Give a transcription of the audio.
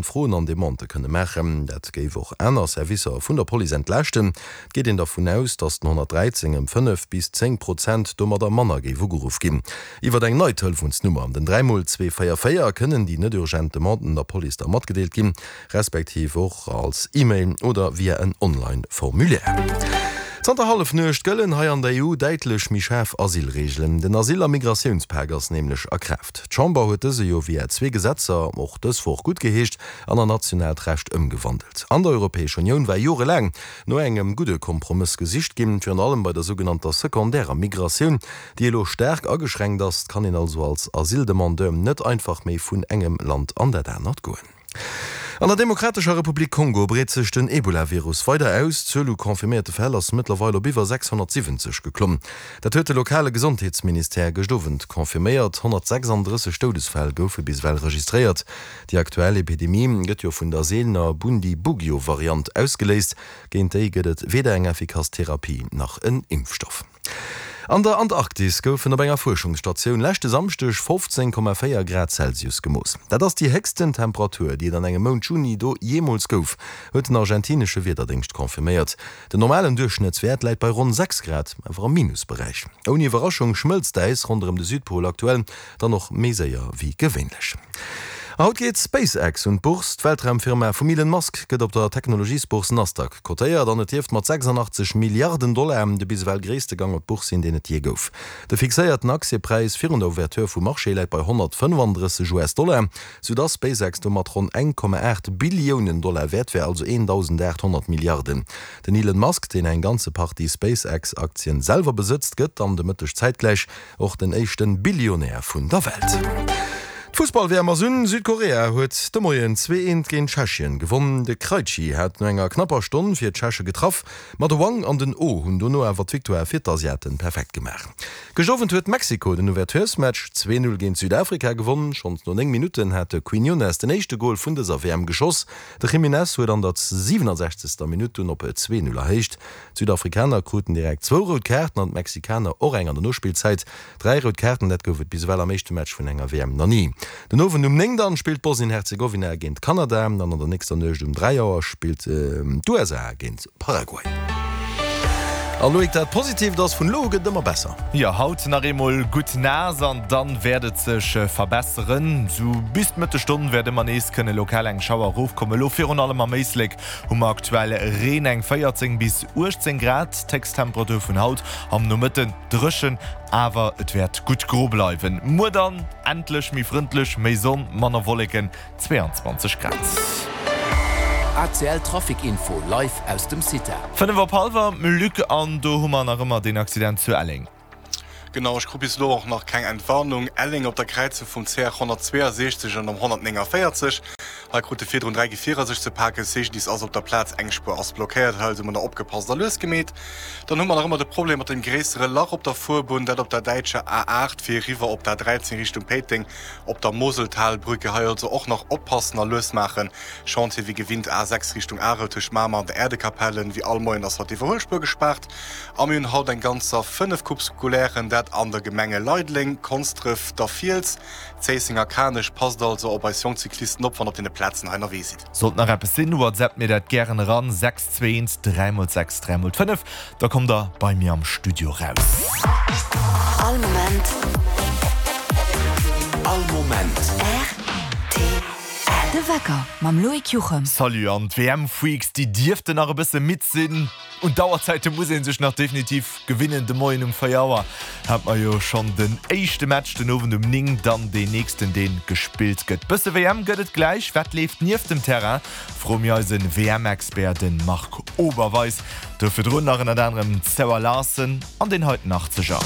Froen an Demandë kënne maachen. Dat géif och aner Servicer vun der Police entlaaschten. Et geet een dervun aus, datt den 113 ëm 5 bis 10 Prozent domadder manner géif ugeruff ginn. Iwwer eng nei Telefonsnummer, den 3 mol 2 4 4, kënnen déi net urgent Demanden der Police da matgedeelt ginn, respektiv och als E-Mail oder via en Online-Formulaire. Zanter Hallefnuecht gëllen hei an der EU däitlech méi schaarf Asylreegelen. Den Asyl a Migratiounspak ass nämlech a Kraaft. D'Chamber huet dëse jo via zwee Gesetzer och dës Woch guttgeheescht an an nationaalt Recht ëmgewandelt. An der Europäescher Unioun war jorelaang no engem gudde Kompromëss gesicht ginn, virun allem bei der sougenannter sekondärer Migratioun, déi elo staark ageschränkt ass. Et kann een also als Asyldemandeur net einfach méi vun engem Land an dat anert goen. An der Demokratescher Republik Kongo breet sech den Ebola-Virus weider aus. D'Zuel u confirméierte Fäll ass mëttlerweil op iwwer 670 geklomm. Dat huet de lokale Gesondheetsministère gëscht Owend confirméiert. 136 Doudesfäll goufe bis ewell registréiert. Déi aktuell Epidemie gëtt jo vun der seelener Bundibugyo-Variant ausgeléist. Géint déi gëtt et weder eng effikass Therapie nach en Impfstoff. An der Antarktis goufen op enger Fuerschungsstatioun leschte Samschdeg 15,4 Grad Celsius gemooss. Dat ass déi héchsten Temperatur, déi et an engem Mount Juni do jeemools gouf, huet den argentinesche Wiederdéngscht confirméiert. Den normalen Duerchschnëttswäert läit bei ronn 6 Grad, awer am Minusberäich. Ouni Iwwerraschung schmëlzt d'Äis ronderëm de Südpol aktuell dann och méi séier wéi gewéinlech. A haut geet SpaceX un d'Bourse. D'Weltraumfirma vum Elon Musk gëtt op der Technologiesbourse Nasdaq kotéiert an et dierft mat 86 Milliarden Dollar de bis ewell gréisste Gang op d'Bourse sinn, deen et jee gouf. De fixéierten Aktiepräis virun der Ouverture vum Marché läit bei 135 US-Dollar, soudass SpaceX domat ronn 1,8 Billiounen Dollar wäert wär, also 1.800 Milliarden. Den Elon Musk, deen eng ganze Partie SpaceX-Aktien selwer besëtzt, gëtt dann de Mëtteg zäitgläich Och den éischten Billionär vun der Welt. D'Fussball-WM ass un, Südkorea huet de Moien 2, 1 géint Tschechien gewonn. De Krejci hat no enger knapper Stonn fir d'Tscheche getraff, ma de Wang an den Oh hunn dono awer d'Victoire fir d'Asiaten perfekt gemaach. Gëscht Owend huet Mexiko den Ouverturesmatch 2, 0 géint Südafrika gewonn. Schonns no 9 Minutten hat de Quiñones den éischte Gol vun dëser WM geschoss. De Jiménez huet an der 67. Minutt dunn op 2, 0 erhéicht. D'Südafrikaner kruten direkt zwou rout Kaarten an d'Mexikaner och eng an der Nospillzäit. Dräi rout Kaarten, dat gouf et bis ewell am éischte Match vun enger WM nach ni. Den Owend um 9 dann spillt Bosnien-Herzegowina géint Kanada an an der nächster Nuecht um 3 Auer spillt d'USA géint Paraguay. A Loïc, dat Positiivt ass, vun elo u gëtt et ëmmer besser. Jo, haut nach eemol gutt naass an dann wäert et sech verbesseren. Sou bis d'Mëttesstonn wäert ëmmer nees kënne lokal eng Schauer erofkommen, elo virun allem am Éislek. Hu mer aktuell Reen, eng 14 bis 18 Grad, d'Héchsttemperatur vun haut am Nomëtten dréchen, awer et wäert gutt gro bleiwen. Muer dann endlech méi frëndlech, méi Sonn, manner Wolleken, 22 Grad. ACL Trafic Info live aus dem CITA. 5 op hallwer, Luc, an do hu mer nach ëmmer deen Accident zu Elleng. Genau, ech krut bis elo och nach keng Entwarnung. Elleng op der Kräizung vum CR 162 an dem 149. Hei krute virdrun 3 Gefierer sech ze paken. CGDIS ass op der Plaz, eng Spuer ass blockéiert. Hei also manner opgepasst a lues gemeet. Dann hu mer nach ëmmer de Problem mat dem gréissere Lach op der Fuerbunn, dat op der däitscher A8 fir eriwwer op d'A13 Richtung Péiteng op der Moseltalbrücke. Hei also och nach oppassen a lues maachen. Chantier wéi gewinnt A6 Richtung Arel tëscht Mamer an der Äerdekapelle. Wéi all Moien ass haut d'Iwwerhuelspuer gespaart. A mir hunn haut eng ganzer 5 Coupes scolairen, dat an der Gemenge Leideleng, Konsdref, der Fiels, Zéisseng a Kanech. Passt also op eis jonk Cyclisten op, wann der op deene Plazen hei ënnerwee sidd. Sollt nach eppes sinn, WhatsApp mir dat gären eran, 6 2 1 3 x 6 3 x 5, da kommt der bei mir am Studio raus. All Moment. All Moment. Rtl. De Wecker mam Loïc Juchem. Salut an d'WM-Freaks, déi dierften nach e bësse midd sinn. Un d'Auerzäite muss ee sech nach definitiv gewinnen. De Moien um 4 Auer hat mer jo schonn den éischte Match, den Owend um 9 dann deen nächsten, dee gespillt gëtt. Bësse WM gëtt et gläich. Wat leeft nieft dem Terrain, froe mir eise WM-Expert, de Marc Oberweis. Do virdrun nach ënnert anerem d'Sarah Larson an deen heiten Achtzeger.